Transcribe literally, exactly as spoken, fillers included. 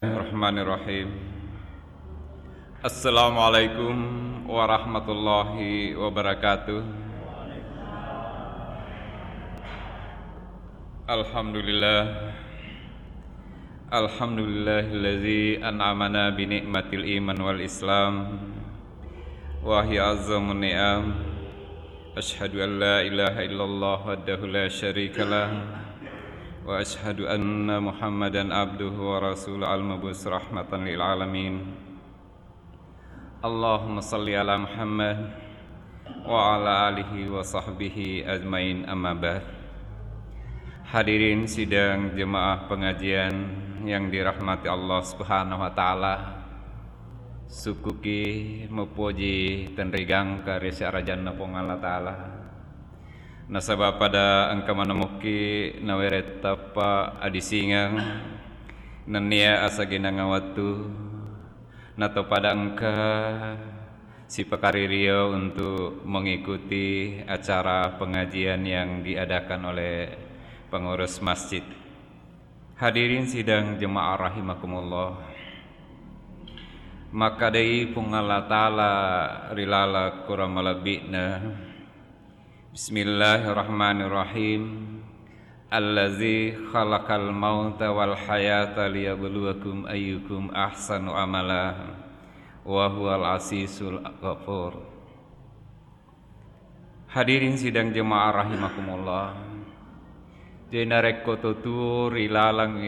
Bismillahirrahmanirrahim. Assalamualaikum warahmatullahi wabarakatuh. Alhamdulillah. Alhamdulillahillazi an'amana bi ni'matil iman wal islam. Wa hiya azzamun ni'am. Asyhadu an la ilaha illallah wahdahu la syarikalah. Wa asyhadu anna Muhammadan abduhu wa rasuluh al-mabus rahmatan lil alamin. Allahumma salli ala Muhammad wa ala alihi wa sahbihi ajmain, amma ba'd. Hadirin sidang jemaah pengajian yang dirahmati Allah Subhanahu wa Ta'ala, sukkuki mupoji tenrigangka ri sarajanna Puang Allah Ta'ala. Nasaba pada engka manemukki nawereng tappa adisingeng nennia asagenangnga wettu, nato pada engka sipakaririo untuk mengikuti acara pengajian yang diadakan oleh pengurus masjid. Hadirin sidang jemaah rahimakumullah. Makkadai Puang Allah Ta'ala ri laleng Akorang malebbi'na. Bismillahirrahmanirrahim. Allazi khalaqal mauta wal hayata liyabluwakum ayyukum ahsanu amala wa huwal azizul ghafur. Hadirin sidang jemaah rahimakumullah. Jadi narekko to tuo ri laleng